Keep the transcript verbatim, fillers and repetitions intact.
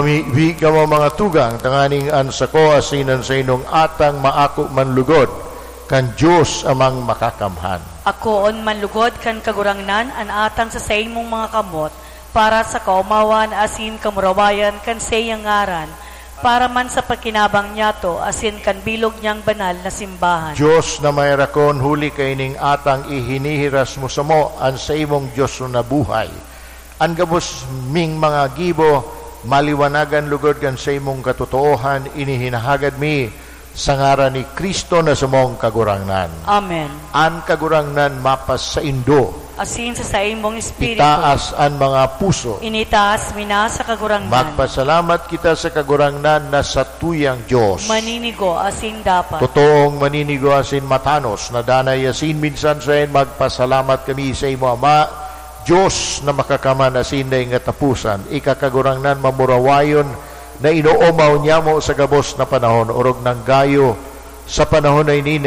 Mibi kamo, mga tugang, tanganing an sako asin an saindong atang maako man lugod kan Dios Amang Makakamhan. Akoon man lugod kan Kagurangnan an atang sa saimong mga kamot, para sa kaomawan asin kamurawayan kan saiyang ngaran, para man sa pakinabang niyato asin kan bilog niyang banal na simbahan. Dios na maherakon, huli kaining atang ihinihiras mo samo an saimong Dios na buhay. An gabos ming mga gibo, maliwanagan lugod kan saimong katotoohan, ini hinahagad mi sa ngaran ni Cristo na samong Kagurangnan. Amen. An Kagurangnan mapasaindo. Asin sa saimong espiritu. Itaas an mga puso. Initaas mi na sa Kagurangnan. Magpasalamat kita sa Kagurangnan na satuyang Dios. Maninigo asin dapat. Totoong maninigo asin matanos na danay asin minsan saen magpasalamat kami sa imo, Ama, Dios na makakamhan asin daing kataposan, ika Kagurangnan mamurawayon na inoomaw nyamo sa gabos na panahon, orog nanggayo sa panahon na ini